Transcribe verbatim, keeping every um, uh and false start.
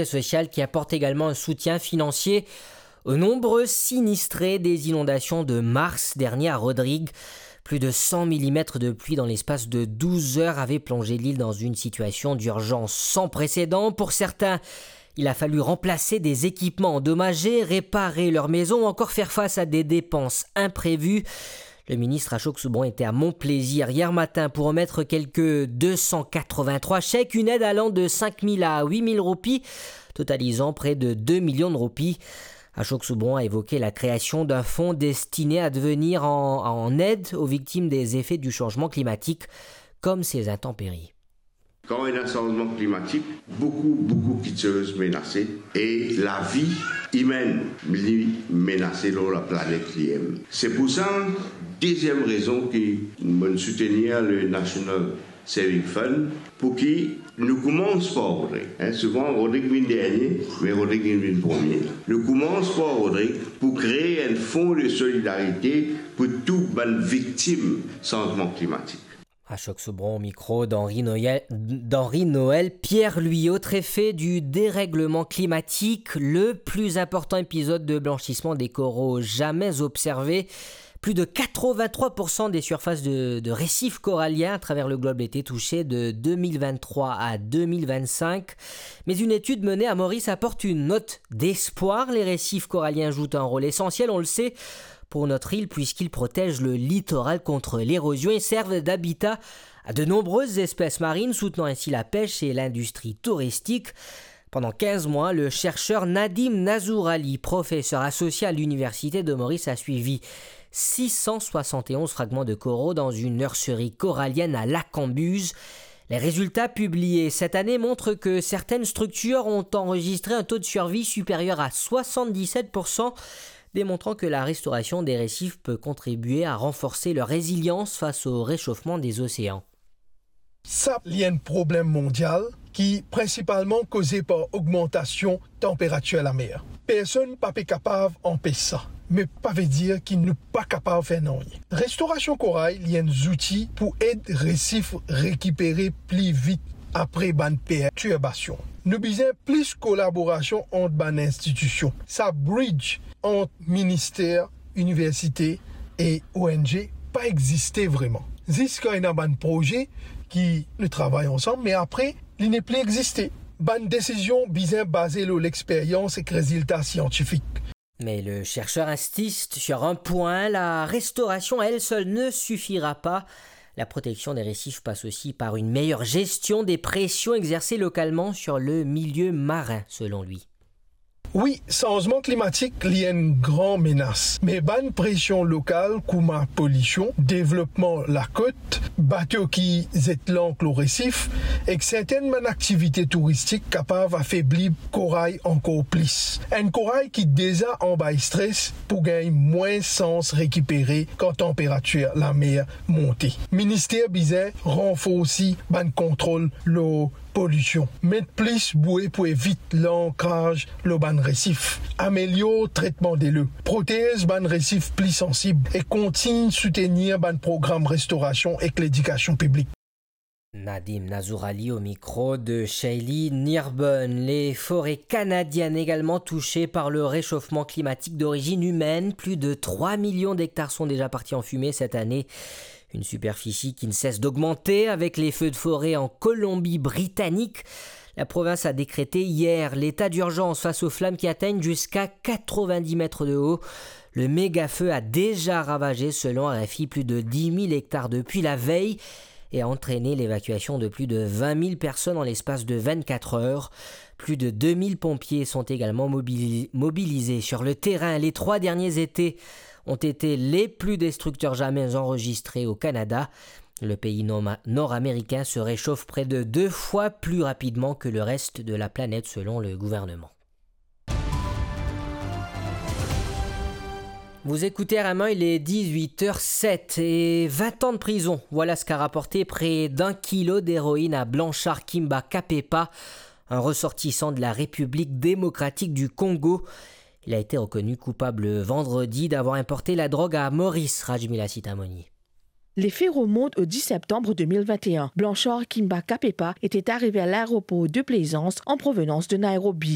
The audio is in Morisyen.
Social qui apporte également un soutien financier aux nombreux sinistrés des inondations de mars dernier à Rodrigues. Plus de cent millimètres de pluie dans l'espace de douze heures avaient plongé l'île dans une situation d'urgence sans précédent. Pour certains, il a fallu remplacer des équipements endommagés, réparer leur maison ou encore faire face à des dépenses imprévues. Le ministre Ashok Soubron était à Mont Plaisir hier matin pour remettre quelques deux cent quatre-vingt-trois chèques, une aide allant de cinq mille à huit mille roupies, totalisant près de deux millions de roupies. Ashok Soubron a évoqué la création d'un fonds destiné à devenir en, en aide aux victimes des effets du changement climatique, comme ces intempéries. Kan ena sanzman klimatik, boukou, boukou kitsoz menase e lavi imenn li menase lor laplanet li mem. Se pou sa, deziem rezon ki mo'nn soutenir le National Saving Fund, pou ki nou koumans par Rodrig. Hein, souvan, Rodrig vinn dernie, me Rodrig vinn, vinn premie. Nou koumans par Rodrig pou kree enn fon de solidarite pou tou bann viktim sanzman klimatik. Ashok Soubron au micro d'Henri Noël, d'Henri Noël Pierre-Louis. Autre effet du dérèglement climatique, le plus important épisode de blanchissement des coraux jamais observé. Plus de quatre-vingt-trois pour cent des surfaces de, de récifs coralliens à travers le globe étaient touchées de deux mille vingt-trois à deux mille vingt-cinq. Mais une étude menée à Maurice apporte une note d'espoir. Les récifs coralliens jouent un rôle essentiel, on le sait, pour notre île, puisqu'ils protègent le littoral contre l'érosion et servent d'habitat à de nombreuses espèces marines, soutenant ainsi la pêche et l'industrie touristique. Pendant quinze mois, le chercheur Nadim Nazour Ali, professeur associé à l'Université de Maurice, a suivi six cent soixante et onze fragments de coraux dans une nurserie corallienne à Lacambuse. Les résultats publiés cette année montrent que certaines structures ont enregistré un taux de survie supérieur à soixante-dix-sept pour cent, démontrant que la restauration des récifs peut contribuer à renforcer leur résilience face au réchauffement des océans. Sa li enn problem mondial ki prinsipalman koze par ogmantasion tanperatir lamer. Personn pa pe kapav anpes sa, me pa vedir ki nou pa kapav fer nanye. Restorasion koray li enn zouti pou ed resif rekipere pli vit apre bann pertirbasion. Nou bizin plis kolaborasion ant bann institision. Sa bridge ant minister, universite e O N G pa existe vreman. Zis kan ena bann proze ki nou travay ansam, me apre, li nepli existe. Bann desizion bizin baze lor lexperyans ek rezilta siantifik. Mais le chercheur insiste sur un point, la restauration à elle seule ne suffira pas. La protection des récifs passe aussi par une meilleure gestion des pressions exercées localement sur le milieu marin, selon lui. Wi, sanzman klimatik li enn gran menas, me bann presion lokal kouma polision, devlopman lakot, bato ki zet lank lor resif, ek sertenn bann aktivite touristik kapav afebli koray ankor plis. Enn koray ki deza anba stres pou gagn mwin sans rekipere kan tanperatir lamer monte. Minister bizin ranforsi bann kontrol lor polision, met plis boue pou evit lankraz lor bann resif, amelior tretman delo, protez bann resif pli sansib e kontign soutenir bann program restorasion ek ledikasion piblik. Nadim Nazour Ali au micro de Shaylee Nirburn. Les forêts canadiennes également touchées par le réchauffement climatique d'origine humaine. Plus de trois millions d'hectares sont déjà partis en fumée cette année. Une superficie qui ne cesse d'augmenter avec les feux de forêt en Colombie-Britannique. La province a décrété hier l'état d'urgence face aux flammes qui atteignent jusqu'à quatre-vingt-dix mètres de haut. Le méga-feu a déjà ravagé, selon R F I, plus de dix mille hectares depuis la veille et a entraîné l'évacuation de plus de vingt mille personnes en l'espace de vingt-quatre heures. Plus de deux mille pompiers sont également mobili-, mobilisés sur le terrain. Les trois derniers étés ont été les plus destructeurs jamais enregistrés au Canada. Le pays norma-, nord-américain se réchauffe près de deux fois plus rapidement que le reste de la planète, selon le gouvernement. Vous écoutez R M un, il est dix-huit heures sept et vingt ans de prison. Voilà ce qu'a rapporté près d'un kilo d'héroïne à Blanchard Kimba Kapepa, un ressortissant de la République démocratique du Congo. Il a été reconnu coupable vendredi d'avoir importé la drogue à Maurice, Rajmila Sitamoni. Les faits remontent au dix septembre deux mille vingt et un. Blanchard Kimba Kapepa était arrivé à l'aéroport de Plaisance en provenance de Nairobi.